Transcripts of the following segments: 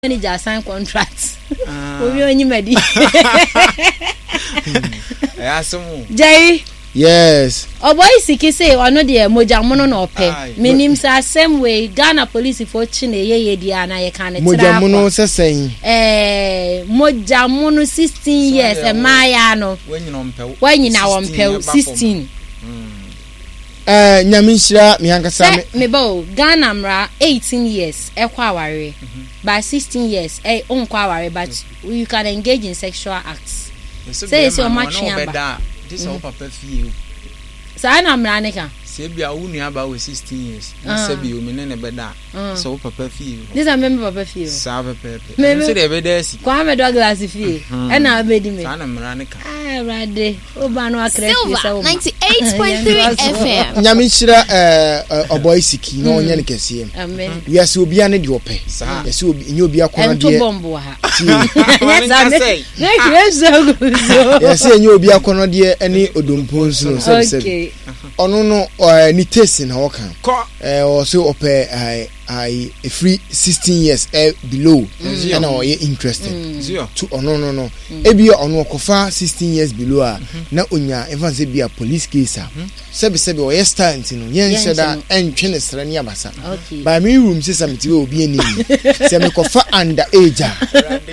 Manager sign contract. Ah. Obi onyi madi. Ɛyɛ asɛm o. Jerry. Yes. Ɔbɔyi siki se ɔno deɛ mogya mono na ɔpɛ. Menim sɛ asɛm wei Ghana polisifoɔ kyi na ɛyɛ yɛ di a na yɛka ne tra Mogya mono sɛ sɛn? Ɛɛ mogya mono 16 years mmaayaa no. Wanyina wɔmpɛw 16. Eh, nyame nhyira me ankasa. Sɛ meba o, Ghana mmara 18 years ɛkɔ awareɛ, mhm. but 16 years ɛ eh, nkɔ awareɛ but you can engage in sexual acts. Sɛ yɛ sɛ ɔmo atwe aba. Mhm. Saa na mmara ne ka. Sɛ ebi a wo nua ba wɔ 16 years na ah. sɛ bi omi ne ne bɛda ah. sɛ wo papa fie hɔ. Ne sɛ mɛmɛ papa fie hɔ. Saa pɛpɛɛpɛ. Ɛno sɛ deɛ ɛbɛda asi. Kwame Douglas fie. Mhm. Ɛna abɛdi me. Saa na mmara ne ka. Ah, Awurade. Silver 98.3 FM. Nyame nhyira ɔbɔ isiki na ɔnyɛ no kɛseɛ. Wiase obia ne deɛ ɔpɛ. Yɛsɛ obi nyɛ obi akɔnɔ deɛ. Yɛsɛ nyɛ obi akɔnɔ deɛ ɛne odompo nsono sɛbi sɛbi. Ɔno no ne taste na ɔka. Ɔsɛ ɔpɛ ayi efiri 16 years ɛ below ɛna ɔyɛ interested to ɔno no no. Ebia ɔno ɔkɔfa 16 years below a na onya ɛmfa no sɛ bia police case a sɛbi sɛbi ɔyɛ star nti no yɛnhyɛ da ɛntwe ne srɛ ne abasa by me room sɛ sɛ mete wɔ obi anim sɛ mekɔfa under age a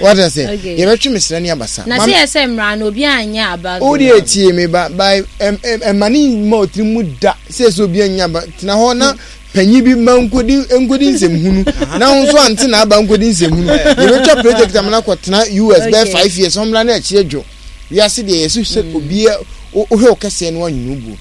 wata sɛ yɛbɛtwe me srɛ ne abasa na sɛ yɛsɛ mmara no obi anyɛ aba wo deɛ tie me ba by ɛma ne mma ɔtiri mu da sɛ sɛ obi anyɛ aba tena hɔ na panyin bi mma nkodi nkodi nsɛmhunu na wo nso ante na aba nkodi nsɛmhunu yɛbɛtwa project amana kɔtena us bɛyɛ 5 years ɔmmra na akyire dwo wiase deɛ yɛso sɛ mm. obiara wohwɛ wo kɛseɛ no wanwene wo buo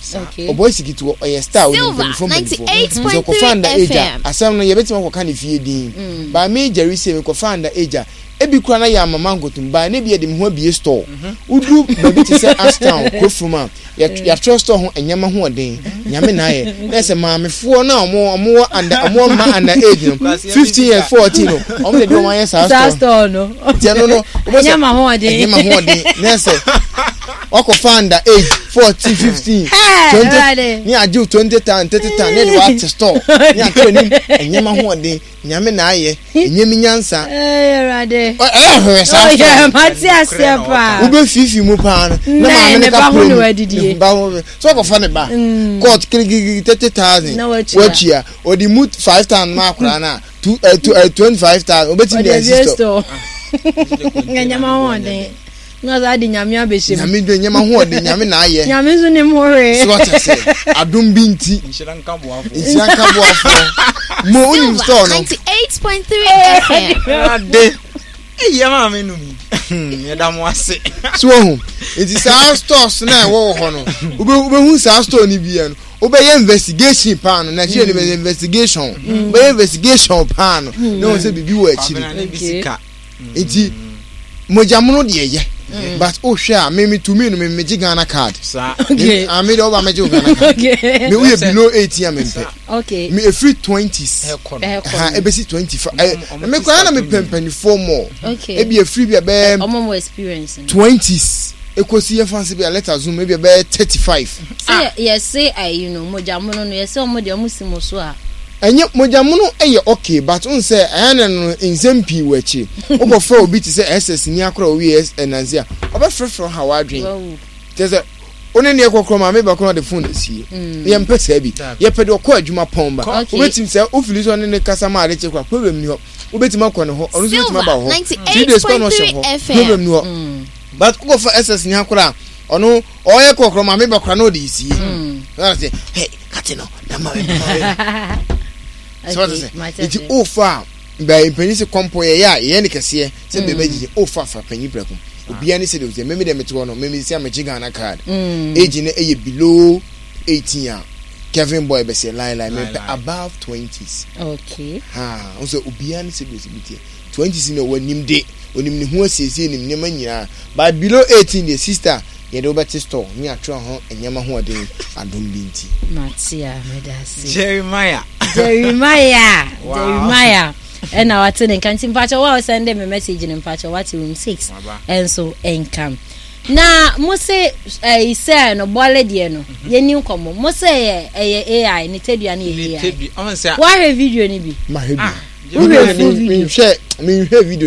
ɔbɔ asikiti ɔyɛ star ɔnim mpanimfoɔ mpanimfoɔ nti ɔkɔfa nda agya asɛm no yɛbɛtumi akɔka ne fie din mm. by me gyari sɛ mekɔfa nda agya ebi kora na yɛ amama nkotum by ne bi yɛde me ho abie store mhm. wodu baabi te sɛ ashtown kurofrom a yɛatwerɛ store ho nneɛma ho ɔden nyame na ayɛ na ɛsɛ maamefoɔ no a ɔmo ɔmo wɔ under ɔmo wɔ mma under age no 15 years 14 no ɔmo de de ɔmo ayɛ saa store no tiɛ no no wobɛ sɛ nneɛma ho ɔden nneɛma ho ɔden na ɛsɛ wakɔfa under age 14 15 20 ne agye 20 tan 30 tan ne de wate store ne atwerɛ nim nneɛma ho ɔden Nyame na ayɛ, ɛnyɛ me nyansa. Ee Awurade. Ɛyɛ hwɛ saa sɔ. Ɔyɛ mate aseɛ paa. Wobɛfiifi mu paa no. Na maame ne ka pere mu. Ne ba ho sɛ ɔkɔfa ne ba. Mm. Court kirikiri 30,000. Na watua. Ɔde mu 5,000 ma akwaraa no a two eh, two eh, 25,000 obetumi de asi store. Ɛnyɛ ma ho ɔden. Na ɔsan de nyame abɛhyɛ mu. Nyame de nyɛma ho ɔde nyame na ayɛ. Nyame nso nim ho hwee. So wate ase adom bi nti. Nhyira nka boafoɔ. Nhyira nka boafoɔ. Mo wonim store no. 98.3 FM. Ade. Eyi ama me num. Yɛda mo ase. So wahu. Nti saa stores na ɛwɔ wɔ hɔ no. Wobɛhu saa store no bi no. Wobɛyɛ investigation paa no. Nigeria ni bɛyɛ investigation. Wobɛyɛ investigation paa no. Na wɔn sɛ biribi wɔ akyiri. nti mogya mono deɛ yɛ mm. but wohwɛ a me me tumi no me megye Ghana card okay. ah, me deɛ woba megye wo Ghana card me woyɛ below 18 a mempɛ okay. me ɛfiri 20s ha ɛbɛsi 25 eh, me koraa na mepɛ mpanimfoɔ mɔ ebi ɛfiri bi a bɛyɛ 20s ekosi yɛn fansi bi a let assume ebi ɛbɛyɛ 35. Sɛ yɛse ayi no mogya mono no yɛse ɔmo deɛ ɔmo si mo so a. Ɛnyɛ mogya mono yɛ okay but wohu sɛ ɛyɛ na no nsɛm pii wɔ akyire. Wokɔfa obi te sɛ SS ni akora owie ɛnanse a ɔbɛfrɛfrɛ wo ha w'adwene. Kyerɛ sɛ wo ne neɛ kɔkorɔ maame ba koraa ɔde phone asie. Mm. Yɛmpɛ saa bi. Yɛpɛ deɛ ɔkɔ adwuma pɔn ba. Wobɛtumi sɛ wofili sɛ ɔne ne kasa ma ade kye koraa problem ni hɔ. Wobɛtumi akɔ ne hɔ ɔno nso bɛtumi aba wɔ hɔ. 3 days kɔ na ɔhyɛ hɔ problem ni hɔ. Mm. But wokɔfa SS ni akora ɔno ɔyɛ kɔkorɔ maame ba koraa na ɔde sie. Mm. Hey, kate no na ma sɛ wate sɛ nti wofa a bɛɛ mpanyin sɛ kɔmpɔ yɛyɛ a yɛyɛ ne kɛseɛ sɛ bɛɛ bɛgyegye wofa fa panyin prɛko obiara ne sɛdeɛ ɔsɛ meme deɛ mete hɔ no meme sɛ megye Ghana card age no ɛyɛ below 18 a Kevin boy bɛsɛ line line mepɛ above 20s okay ha wo sɛ obiara ne sɛdeɛ ɔsɛ bɛtiɛ 20s no wɔnim de onim ne ho asiesie nim nneɛma nyinaa but below 18 deɛ sister Yɛde wo bɛte store ne atwerɛ ho nneɛma hoɔden adom bi nti. Mate a, meda ase. Jeremiah. Jeremiah. Wow. Jeremiah. Ɛna wate ne nka nti mpakyɛ wo a wosɛnde me message no mpakyɛ wate room 6 ɛnso ɛnka. Na mo se ɛyi sɛ no bɔle deɛ no mhm. yɛni nkɔmmɔ mo se ɛyɛ ɛyɛ AI ne tadua no yɛ AI. Wahwɛ video no bi. Mahwɛ bi. Ah. Wohwɛ video. Menhwɛ video.